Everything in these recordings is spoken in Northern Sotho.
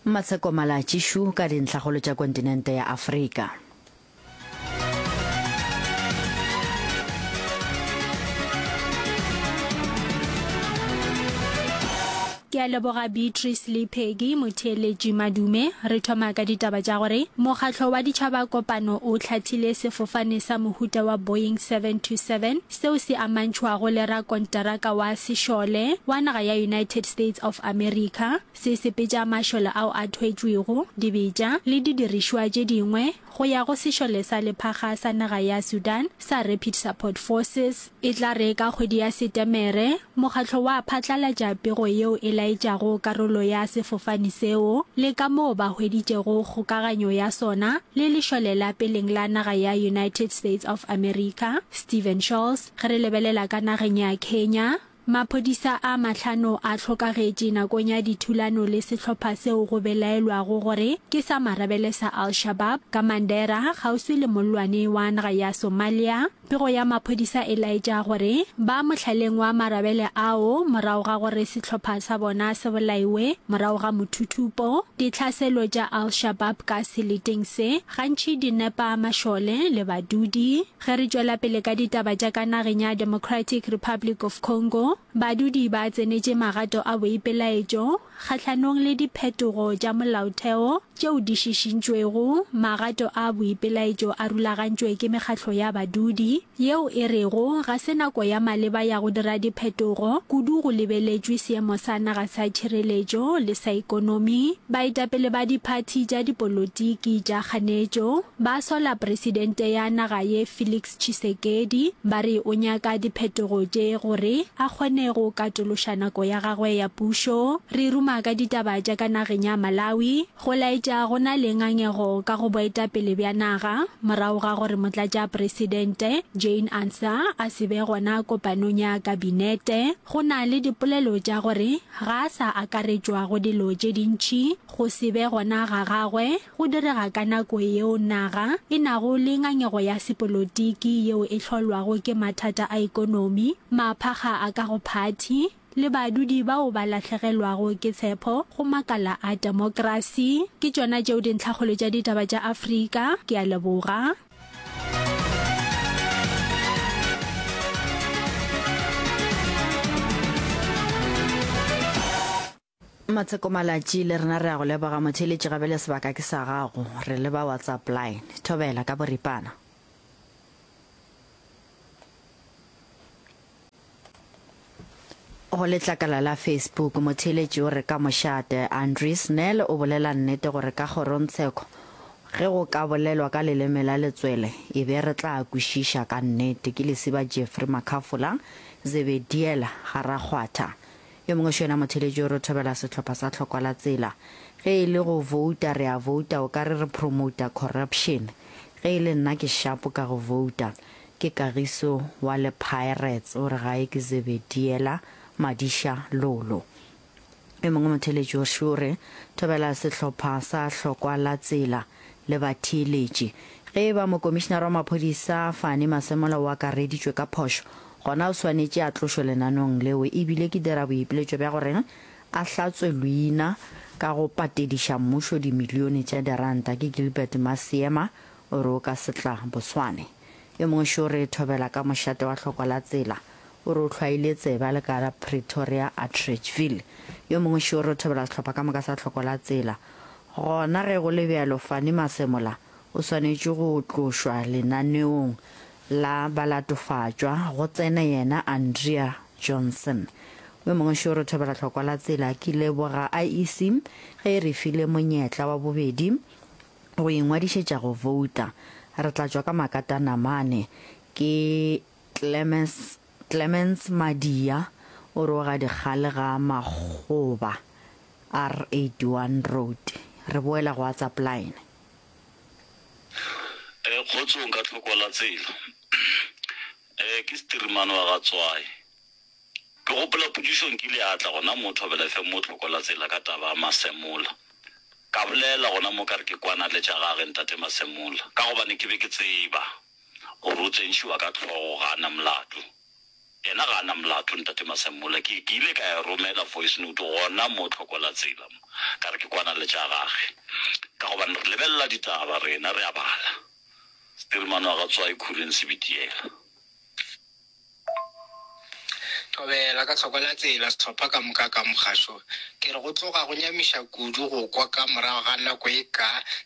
Matsheko Malatji Shu ka dintlhakgolo tša kontinente ya Afrika. Ke a leboga Beatrice le Peggy motheeletši Madume. Re thoma ka ditaba tša gore Mokgatlo wa Ditšhaba Kopano o hlathile sefofane sa mohuta wa Boeing 727 seo se amantšhwago le rakonteraka wa sešole wa naga ya United States of America se sepetša mašole ao a thwetšwego, dibetša le didirišwa tše dingwe go ya go sešole sa lephakga sa naga ya Sudan sa Rapid Support Forces. E tla re ka kgwedi ya Setemere, mokgatlo wa phatlalatša pego yeo e laetšago karolo ya sefofane seo le ka moo ba hweditšego kgokaganyo ya sona le lešole la peleng la naga ya United States of America. Steven Scholz, Ge re lebelela ka nageng ya Kenya, Maphodisa a mahlano a hlokagetše nakong ya dithulano le sehlopha seo go belaelwago gore ke sa marabele sa Al-Shabaab ka Mandera, kgauswi le mollwane wa naga ya Somalia. Pego ya maphodisa e laetša gore ba mohlaleng wa marabele ao morago ga gore sehlopha sa bona se bolaiwe morago ga mothuthupo. Ditlhaselo tša Al-Shabaab ka seleteng se gantši di nepa mašole le badudi. Ge re tšwela pele ka ditaba tša ka nageng ya Democratic Republic of Congo, badudi ba tsenetše magato a boipelaetšo kgahlanong le diphetogo tša molaotheo tšeo di šišintšwego. Magato a boipelaetšo a rulagantšwe ke mekgatlo ya badudi yeo e rego ga se nako ya maleba ya go dira diphetogo, kudu go lebeletšwe seemo sa naga sa tšhireletšo le sa ikonomi. Baetapele ba diphathi tša dipolotiki tša kganetšo Ba sola presidente ya naga ye Felix Tshisekedi ba re o nyaka diphetogo tše gore a kgone go katološa nako ya gagwe ya pušo. Re ruma ka ditaba tša ka nageng ya Malawi go laetša go na le ngangego ka go boetapele bja naga morago ga gore motlatšapresidente Jane Ansah a se be gona kopanong ya kabinete. Go na le dipolelo tša gore ga a sa akaretšwa go dilo tše dintši go se be gona ga gagwe Go direga ka nako yeo naga e nago le ngangego ya sepolotiki yeo e hlolwago ke mathata a ekonomi, maphakga a ka go phathi, le badudi bao ba lahlegelwago ke tshepo go makala a temokrasi. Ke tšona tšeo dintlhakgolo tša ditaba tša Afrika. Ke a leboga. Matsheko Malatji, le rena re a go leboga motheeletši gabele sebaka ke sa gago, re leba WhatsApp line. Thobela ka boripana. Go letlakala la Facebook, motheeletši o re ka mošate, Andries Nel o bolela nnete gore ka kgorongtsheko ge go ka bolelwa ka leleme la letswele e be re tla kwešiša ka nnete. Ke Lesiba Jeffrey Makhafola, Zebediela, ga Rakgwatha. Yo mongwe šo yena motheeletši o re thobela sehlopha sa hlokwa la tsela. Ge e le go vouta re a vouta o ka re re promouta corruption. Ge e le nna ke shapo ka go vouta. Ke Kagiso wa le Pirates o re gae ke Zebediela Madiša Lolo. Yo mongwe motheeletši o šo o re thobela sehlopha sa hlokwa la tsela le batheeletši. Ge e ba mokomišinara wa maphodisa Fani Masemola o akareditšwe ka phošo, gona o swanetše a tlošwe lenaneong leo e bile ke dira boipiletšo bja gore a hlatswe leina ka go patediša mmušo dimilione tša diranta. Ke Gilbert Masiema o re o ka se tla Boswane. Yo mongwe šo re thobela ka mošate wa hlokwa la tsela o re o hlwaile tsebe a le ka Pretoria Atteridgeville. Yo mongwe šo re thobela sehlopha ka moka sa hloko la tsela. Gona ge go le bjalo Fanny Masemola o swanetše go tlošwa lenaneong la balatofatšwa, go tsene yena Andrea Johnson. Yo mongwe šo re thobela hlokwa la tsela. Ke leboga IEC ge e re file monyetla wa bobedi go ingwadišetša go vouta. Re tla tšwa ka makatanamane. Ke Clemens, Clemens Madia o re o ga dikgale ga Makgoba R81 Road. Re boela go WhatsApp line. Eh kgotsong ka tlhoko la tsela. Eh ke Stirimane wa ga Tswai. Ke gopola potšišo nkile ya tla gona mo Thobela FM mo tlhoko la tsela ka taba ya Masemola. Ka bolela gona mo ka re ke kwana le tša gage ntate Masemola ka gobane ke be ke tseba gore o tsentšhiwa ka hlogo ga a na molato. Yena ga a na molato Ntate Masemola. Ke, ke ile ka e romela voice note gona mo Tlhokolatsela mo, ka re ke kwana le tša gage. Ka gobane re lebelela ditaba rena, re a bala. Setirimane wa ga Tswai Khureng Sebitiela. Thobela ka Tlhokolatsela, sehlopha ka moka ka mogašo. Ke re go tloga go nyamiša kudu go kwa ka morago ga nako e ka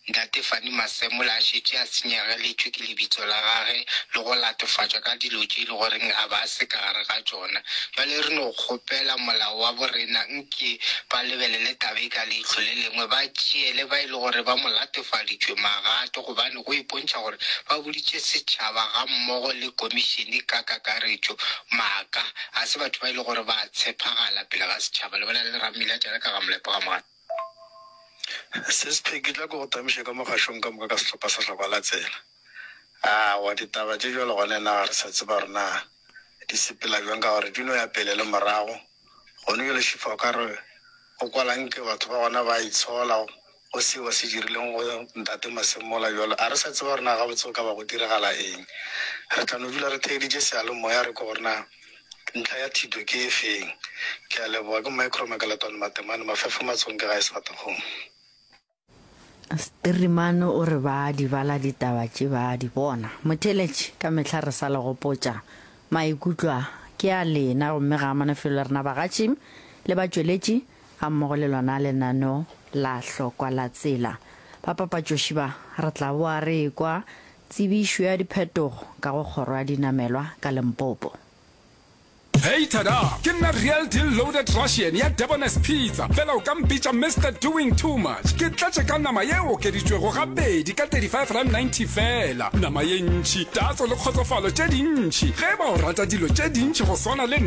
Ntate Fanny Masemola a šetše a senyegeletšwe ke lebitso la gage le go latofatšwa ka dilo tše e le goreng a ba a se ka gare ga tšona. Bjale re no kgopela molao wa borena nke ba lebelele taba e ka leihlo le lengwe, ba tšeele ba e le gore ba mo latofaditšwe magato gobane go ipontšha gore ba boditše setšhaba gammogo le komišene ka kakaretšo maaka. Ga se batho ba e le gore ba a tshepagala pele ga setšhaba. Le bolela le Rammila Tšale ka ga Molepo ga Mogale. Sis Peggy, tla ke go tamiše ka mogašong ka moka ka sehlopha sa Hlokwa la Tsela. Aowa, ditaba tše bjalo gona nna ga re sa tseba gore na di sepela bjang ka gore di no ya pele le morago. Gone bjale Šifa o ka re o kwala nke batho ba gona ba itshola go seo ba se dirileng go Ntate Masemola bjalo. A re sa tseba gore na gabotse go ka ba go diragala eng. Re tla no dula re theeditše seyalemoya re kwe gore na ntlha ya thito ke e feng. Ke a leboga. Ke Micro Makaletwane Matemane, Mafefo Matsong ke gae Sefatakgomo. Sterimane o re ba di bala ditaba tše ba di bona. Motheeletši, ka mehla re sa le gopotša, maikutlo a ke a lena gomme ga a amane felo le rena bagatši le batšweletši gammogo le lona lenaneo la Hlokwa la Tsela. Bapapatšoši ba re tla boa re ekwa tsebišo ya diphetogo ka go kgoro ya dinamelwa ka Limpopo. Hey tada! Ke nna Real Deal Loaded Russian ya Debonair's Pizza, fela o ka mpitša Mister Doing Too Much. Ke tletše ka nama ye e okeditšwego gabedi ka R35.90 feela. Nama ye ntši, tatso le kgotsofalo tše dintši. Ge e ba o rata dilo tše dintši go swana le.